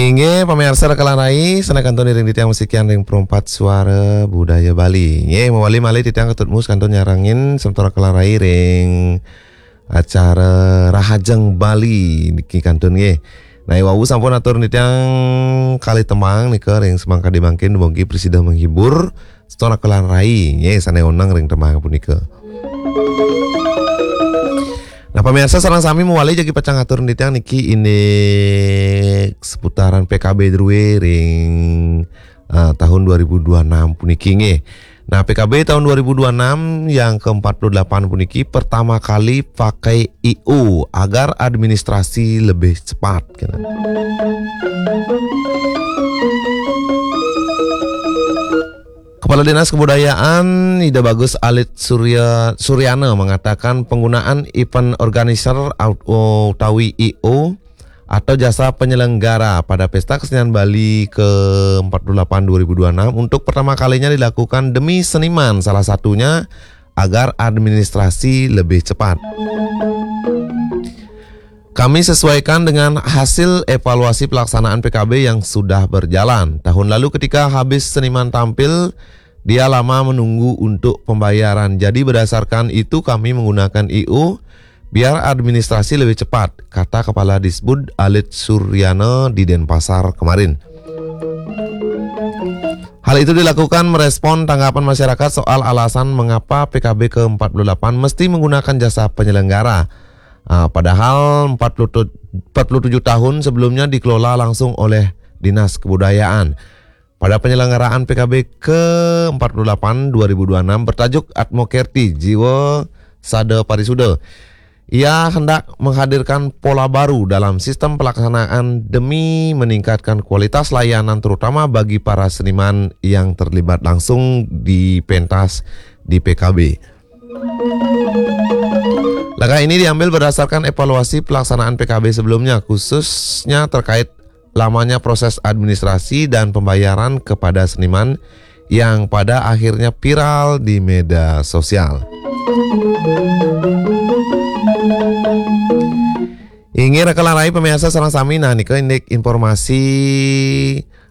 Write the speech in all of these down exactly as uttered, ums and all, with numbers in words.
Inggih, pamirsa Rekelan Rai, sané kantun iring titiang masikian ring Perempat Suara Budaya Bali. Inggih, mawali malih titiang ketut mus kantun nyarengin semeton Rekelan Rai ring acara Rahajeng Bali niki kantun nggih. Nah, wau sampun atur titiang kalih tembang nika ring semangkadi mangkin, mugi prasida menghibur semeton Rekelan Rai nggih sané oneng ring tembang punika. Nah, pamirsa sareng sami mawali jagi pacang atur titiang niki indik seputaran P K B drué ring, eh, tahun dua ribu dua enam puniki nggih. Nah, P K B tahun dua ribu dua enam yang keempat puluh delapan puniki pertama kali pakai I O agar administrasi lebih cepat, gitu. Kepala Dinas Kebudayaan Ida Bagus Alit Surya, Suryana mengatakan penggunaan event organizer au-, utawi I O atau jasa penyelenggara pada Pesta Kesenian Bali ke empat puluh delapan dua ribu dua enam untuk pertama kalinya dilakukan demi seniman, salah satunya agar administrasi lebih cepat. Kami sesuaikan dengan hasil evaluasi pelaksanaan P K B yang sudah berjalan. Tahun lalu ketika habis seniman tampil, dia lama menunggu untuk pembayaran. Jadi berdasarkan itu kami menggunakan I O biar administrasi lebih cepat, kata Kepala Disbud Alit Suryana di Denpasar kemarin. Hal itu dilakukan merespon tanggapan masyarakat soal alasan mengapa P K B ke empat puluh delapan mesti menggunakan jasa penyelenggara. Ah, padahal empat puluh tu-, empat puluh tujuh tahun sebelumnya dikelola langsung oleh Dinas Kebudayaan. Pada penyelenggaraan P K B ke empat puluh delapan dua ribu dua enam bertajuk Atmo Kerti Jiwa Sada Parisuda, ia hendak menghadirkan pola baru dalam sistem pelaksanaan demi meningkatkan kualitas layanan, terutama bagi para seniman yang terlibat langsung di pentas di P K B. Langkah ini diambil berdasarkan evaluasi pelaksanaan P K B sebelumnya, khususnya terkait lamanya proses administrasi dan pembayaran kepada seniman yang pada akhirnya viral di media sosial. Inggih Rekelan Rai, pamirsa sareng sami, nah nika indik informasi,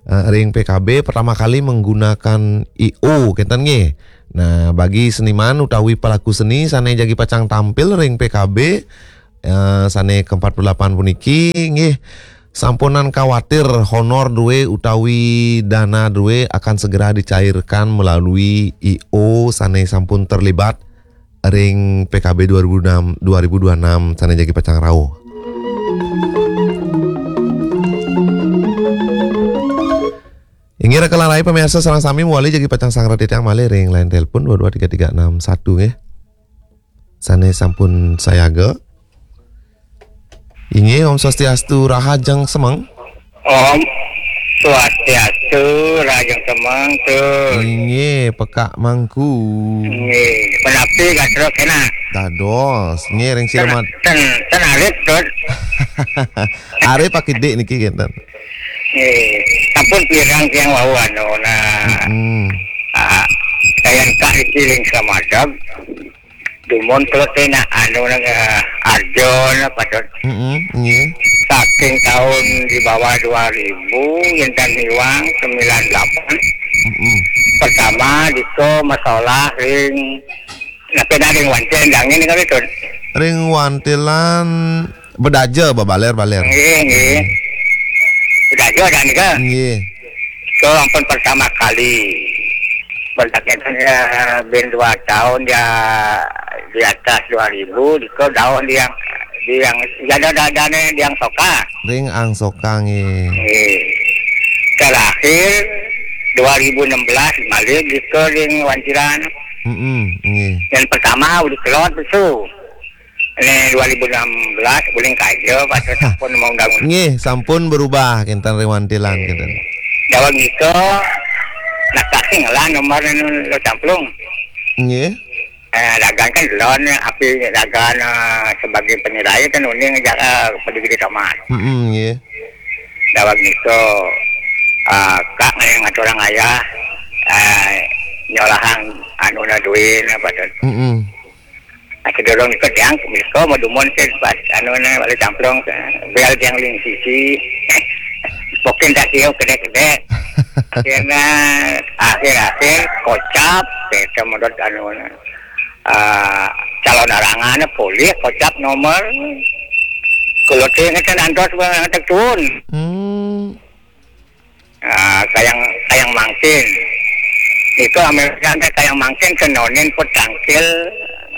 eh, ring P K B pertama kali menggunakan I O, kenten nggih. Nah, bagi seniman utawi pelaku seni sané jagi pacang tampil ring P K B, eh, sané ke empat puluh delapan puniki, nggih, sampunang kuatir honor drué utawi dana drué akan segera dicairkan melalui I O sané sampun terlibat ring P K B dua ribu enam, dua ribu dua enam sané jagi pacang rauh. Inggih Rekelan Rai, pamirsa sareng sami, mawali jagi pacang sanggra titiang malih ring line telepon dua dua tiga tiga enam satu nggih. Sané sampun sayaga. Inggih, Om Swastiastu, rahajeng semeng. Om Swastiastu, rahajeng semeng, Tut. Inggih, Pekak Mangku. Inggih, punapi gatra kénak? Dados, inggih ring ten, Silamat. Ten, ten arit, Tut. Arit pakidik niki kenten. Inggih, sampun pirang tiang wau anu, nah. Mm-mm. Ah, kayan ka iki ring Slamadeg. Dumun keleté nak anu nang, eh, Arjun apa tuh? Mm-mm, nggih. Saking tahun di bawah dua ribu, yén tan iwang sembilan delapan. Mm-mm. Pertama diko masalah ring, napa ring wantilan dangin kali tuh? Ring wantilan bedaja babalér-balér. Nggih, nggih. Bedaja ada nika. Nggih. Itu ampun pertama kali. Berarti ya, bin dua tahun ya di atas dua ribu, di ko daun di yang, di yang, ya ada, ada, ada nih, di yang soka. Ring Angsoka nggih. Nggih. Terakhir dua ribu enam belas malih di ko ring Wantilan. Mm-mm, nggih. Yang pertama udah kelot itu. Ini dua ribu enam belas, uling kaja, pas sampun mau undang-undang. Nggih, sampun berubah, kinten ring wantilan, kinten. Daweg nika, nak kasih ngelah nomor anu lo camplung. Nggih. Eh, dagang kan delon, api dagang, eh, sebagai penilai kan uning ngejak, eh, peduli di kamar. Mm-mm, nggih. Daweg nika, eh, kak ngaturang ayah, eh, nyolahang anu na duit, apa tu. Mm-mm. Nah, sedurung nika tiang, nika madumun sih pas anu na balik camplung, bel tiang ling sisi. Mungkin tak siap kedek-kedek. Akhirnya, akhir-akhir kocap, kita menurut anu, ah, calon arangan polih kocap nomor. Kalau teu ngeten antos, bang, ngeten turun. Hmm. Ah, kayang, kayang mangkin. Itu Amerika teh kayang mangkin kenonin pun tangkil,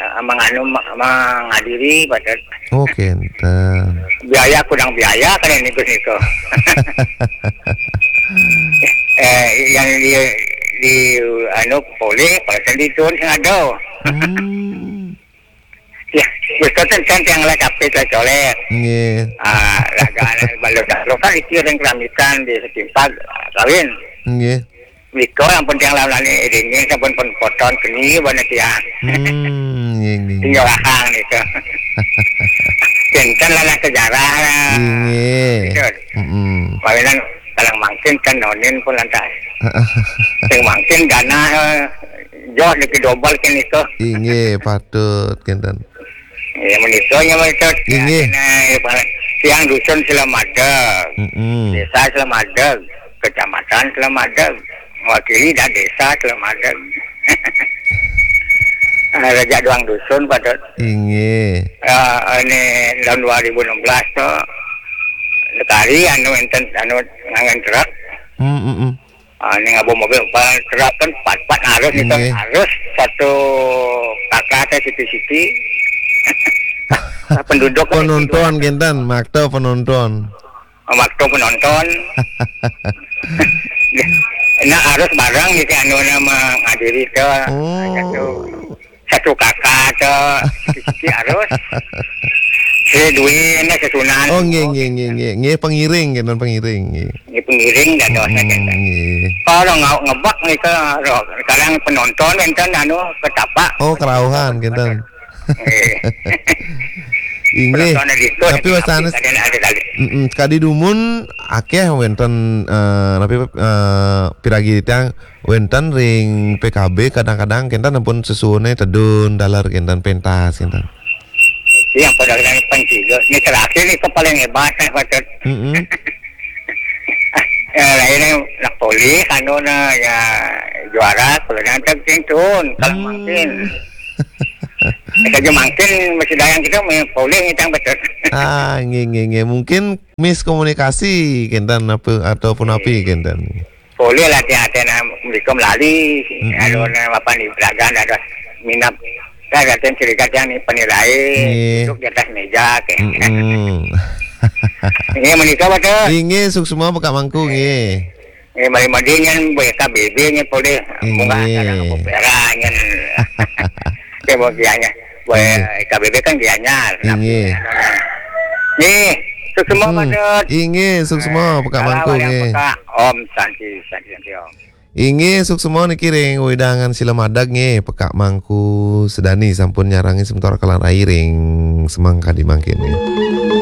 ah, menganu, ma-, menghadiri pada. Oh, kenten. Biaya kurang biaya kan ini, Gus, itu. Eh, yang di, di, anu, polih, pada di turun sing ada. Hmm. Ya, betul kan, kan yang lah capek lah colek. Nggih. Ah, laga anak balu dah. Lo kan itu yang keramitan di setimpal kawin. Nggih. Miko yang penting lah nani dingin sabun pun poton keni bana tiang. Hmm, nggih, nggih. Tinggal akang itu. Kenten lah, lah sejarah lah. Nggih. Betul. Mm-mm. Palingan kalau mangkin kan nonin pun lantas. Yang mangkin dana, eh, joh dikit dobel kan itu. Inggih, patut kenten. Ya, menikahnya mereka. Inggih. Nah, ya, Pak. Tiang dusun Selamadeg. Mm-mm. Desa Selamadeg, kecamatan Selamadeg, mewakili dan desa Selamadeg. Ah, Raja Doang Dusun, Pak Dot. Inggih. Ah, ini tahun dua ribu enam belas tuh, sekali anu enten, anu ngangen truk. Hmm, hmm, hmm. Ah, ini ngabo mobil, Pak, truk kan empat, empat harus itu, nggih, harus satu kakak teh siti-siti. Penduduk kan penonton, kenten, makta penonton. Waktu penonton. Nah, harus bareng gitu, anu, nama ngadiri ke. Oh. Satu, satu kakak ke, siki harus. Si Dwi, ini si Sunan. Oh, nggih, nggih, nggih, nggih. Nggih, pengiring, kenten pengiring, nggih. Ini pengiring dan dosa, hmm, kenten. Nggih. Kalau nggak ngebak nih ke, sekarang penonton, kenten, anu, ketapak. Oh, kerauhan, kenten. Eh. Inggih. Penonton di situ, tapi tapi wasana kadang ada kali. Mm-mm, sekadi dumun akeh wenten, eh, napi, eh, piragi titiang wenten ring P K B kadang-kadang kenten ampun sesuhune tedun, daler kenten pentas kenten. Yang pada kena penting juga. Ini terakhir nih, paling hebat, eh, patut. Mm-mm. Eh, lain nak polih, anu na, ya, juara, kalau yang penting turun, kalau hmm, mungkin. Saja mangkin masih dayang kita main polih ngitang betul. Ah, nggih, nggih, nggih. Mungkin miskomunikasi kenten apa ataupun api kenten. Polih lah tiang, tiang, nah, mereka melali, mm-mm, anu, nah, apa ni, belagan ada minat. Kan ada yang cerita yang ni penilai, nggih, duduk di atas meja, kayak. Mm-mm. Ini menikah betul. Inggih, suksma Pak Mangku, nggih. Eh, mari mandi nyen, buat K B B nyen polih. Bunga, inggih, sekarang aku perak nyen. Dia buat gianya. Buat, inggih, K B B kan gianya. Inggih. Nih, suksma, hmm, Pak Dut. Inggih, suksma, eh, Pak Mangku, salam yang nggih. Peka. Om Santi, Santi, Santi, Om. Inggih, suksma niki ring wewidangan Sila Madag nggih, Pekak Mangku Sedani sampun nyarangi sementara kalan rai ring semangkadi mangkin nggih.